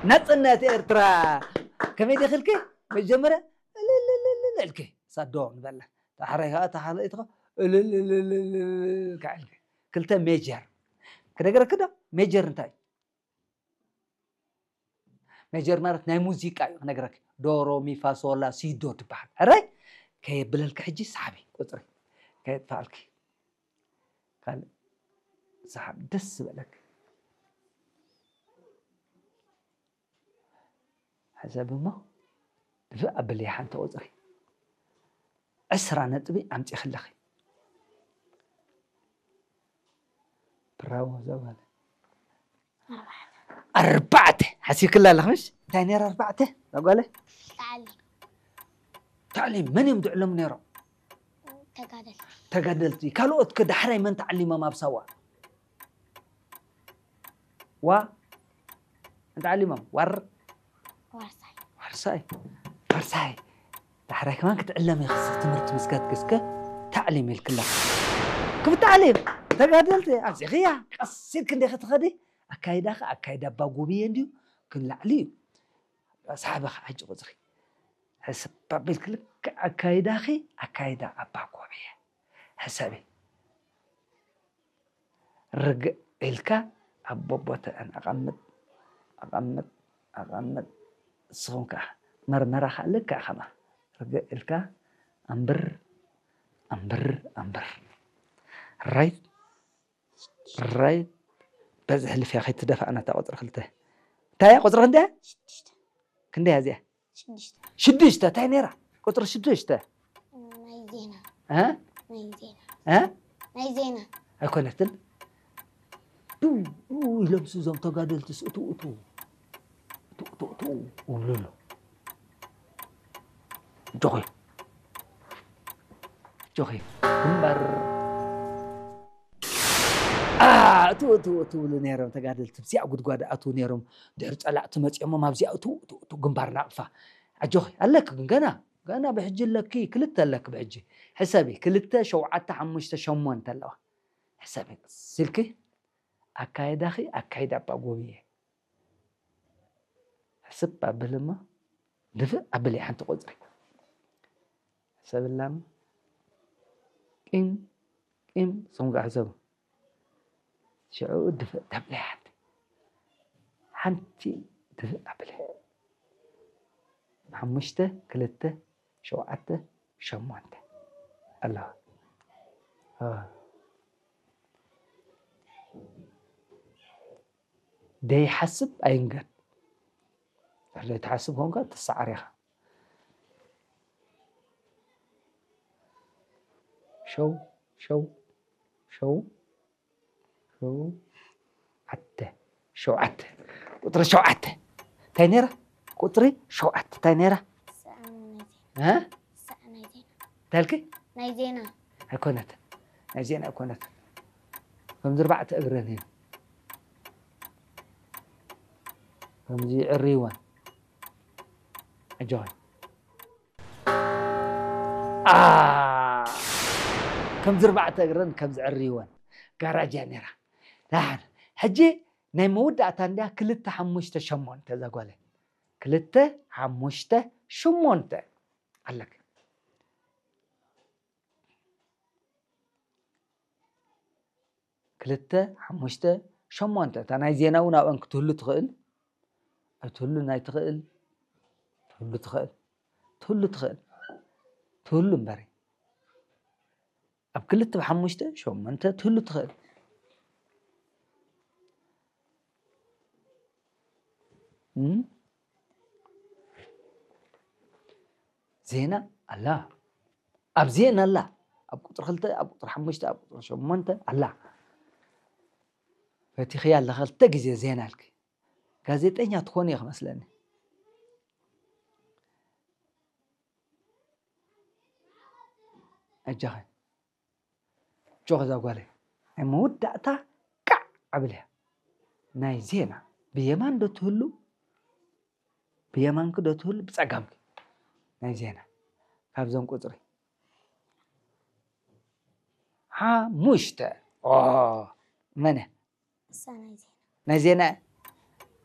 ናጽነት ኤርትራ። ከመይ ዲኺ ኢልኪ? መጀመርያ እልልልልል ኢልኪ። ሳዶ ንበላ። ዳሕራይ ከኣ እታ ካልኣይቲ ከኣ እልልልልል ኢልካ ኢልኪ። ክልተ ሜጀር። ክነግረኪ ዶ? ሜጀር እንታይ እዩ? ሜጀር ማለት ናይ ሙዚቃ እዩ ክነግረኪ። ዶ፣ ሮ፣ ሚ፣ ፋ፣ ሶ፣ ላ፣ ሲ፣ ዶ ትበሃል። ሕራይ? ከየብለልኪ ሕጂ ሰሓቢ ቁጽሪ። ከየጥፋኣልኪ። ካልእ ሰሓብ ደስ ዝበለኪ። ሕሰብ እሞ ድፍእ ኣብልያ ሓንቲ ቁጽሪ። ዕስራ ነጥቢ ኣምጺእኺ ኣለኺ። ብራቮ እዛ ጓል። ኣርባዕተ ሓሲብክላ ኣለኺ ምሽ? እንታይ ነይራ ኣርባዕተ እዛ ጓለ? ታዕሊም። ታዕሊም መን እዮም ዝዕለሙ ነይሮም? ተጋደልቲ። ተጋደልቲ። ካልኦት ከ ዳሕራይ መን ተዓሊሞም ኣብ ሳዋ? ዋ እንታይ ዓሊሞም? ዋር ዋርሳይ። ዋርሳይ። ዋርሳይ። ዳሕራይ ከማን ክትዕለሚ ኢኺ፣ ትምህርቲ ምስ ከድኪ እስከ ታዕሊም ኢልክላ። ክብቲ ዓሊም ተጋደልቲ ኣብዚኽያ ቀስ ኢልክ እንዲኺ ትኸዲ። ኣካይዳኺ ኣካይዳ ኣባ ጎብየ እንድዩ፣ ግን ላዕሊ እዩ። ሳሕበኺ ሕጂ ቁፅሪ ሕስብ ኣቢልክ ልክዕ ኣካይዳኺ ኣካይዳ ኣባ ጎብየ ሕሰቢ። ርግእ ኢልካ ኣብ ቦቦትአን ኣቐምጥ፣ ኣቐምጥ፣ ኣቐምጥ። ንስኹም ከኣ መርመራ ከኣ ልክዕ ከምኣ ርግእ ኢልካ ኣንብር፣ ኣንብር፣ ኣንብር። ራይት፣ ራይት። በዚ ሕልፍያ ከይትደፋእና እታ ቁጽሪ ክልተ። እንታይ እያ ቁጽሪ ክንደይ እያ? ሽዱሽተ። ክንደይ እያ እዚኣ? ሽዱሽተ። ሽዱሽተ፣ እንታይ ነይራ? ቁጽሪ ሽዱሽተ። ናይ ዜና። እ? ናይ ዜና። እ? ናይ ዜና። ኣይኮነትን። ዱ፣ ዱ ኢሎምስ እዞም ተጋደልትስ እቱ፣ እቱ፣ እቱ፣ እቱ፣ እቱ ይብሉ ኣለዉ። ጆኺ። ጆኺ። ግንባር። አ፣ እቱ፣ እቱ፣ እቱ ይብሉ ነይሮም ተጋደልቲ። ኣብዚኣ ጉድጓድ ኣትዉ ነይሮም። ድሕሪ ጸላእቲ መጺኦሞም ኣብዚኣ እቱ፣ እቱ፣ እቱ ግንባር ናቕፋ። ኣጆኺ፣ ኣለኪ ግን ገና፣ ገና ብሕጂ ኣለኪ፣ ክልተ ኣለኪ ብሕጂ። ሕሰቢ፣ ክልተ፣ ሸውዓተ፣ ሓሙሽተ፣ ሸሞንተ ኣለዋ። ሕሰቢ፣ ስልኪ ኣካይዳኺ ኣካይዳ ኣባ ጎብየ። ሕስብ ኣብል እሞ ድፍእ ኣብል እያ ሓንቲ ቁጽሪ። ሕሰብላ እሞ ቂም፣ ቂም፣ ንስኹም ከኣ ሕሰቡ። ሽዑ ድፍእ ተብለያ ሓንቲ። ሓንቲ ድፍእ ኣብል እያ። ሓሙሽተ፣ ክልተ፣ ሸውዓተ፣ ሸሞንተ ኣለዋ። አ። ደይሓስብ ኣይንገር። ድሕሪ ዘይትሓስብ ኮንካ ትሰዓር ኢኻ። ሸው፣ ሸው፣ ሸው፣ ሸው፣ ዓተ፣ ሸውዓተ። ቁጽሪ ሸውዓተ። እንታይ ነይራ? ቁጽሪ ሸውዓተ። እንታይ ነይራ? ሰኣን ናይ ዜና። እ? ሰኣን ናይ ዜና። እንታይ ኢልኪ? ናይ ዜና። ኣይኮነትን። ናይ ዜና ኣይኮነትን። ከምዚ ኣርባዕተ እግረን እየን። ከምዚ ይዕርይወን። ኣጆኺ። አ፣ ከምዚ ኣርባዕተ እግረን ከምዚ ዕርይወን። ጋራጅ እያ ነይራ። ደሓን። ሕጂ ናይ መወዳእታ እንድያ ክልተ ሓሙሽተ ሸሞንተ እዛ ጓለይ። ክልተ ሓሙሽተ ሸሞንተ ኣለኪ። ክልተ ሓሙሽተ ሸሞንተ። እታ ናይ ዜና እውን ኣብአን ክትህሉ ትኽእል። ኣይትህሉን ኣይትኽእል። ትህሉ ትኽእል። ትህሉ ትኽእል። ትህሉ እምበሪ። ኣብ ክልተ ብሓሙሽተ ሸሞንተ ትህሉ ትኽእል። እም? ዜና ኣላ። ኣብ ዜና ኣላ። ኣብ ቁጽሪ ክልተ፣ ኣብ ቁጽሪ ሓሙሽተ፣ ኣብ ቁጽሪ ሸሞንተ ኣላ። ፈቲኽያ ኣለኻ ክልተ ግዜ ዜና ኢልኪ። ጋዜጠኛ ትኾኒ ኢኺ መስለኒ። ኣጆኺ። ኣጆኺ እዛ ጓለይ። ናይ መወዳእታ ቃዕ ኣብልያ። ናይ ዜና። ብየማን ዶ ትህሉ? ብየማንኪ ዶ ትህሉ? ብጸጋምኪ። ናይ ዜና። ካብዞም ቁጽሪ። ሓሙሽተ። ኦ፣ መን እያ? እሳ ናይ ዜና። ናይ ዜና።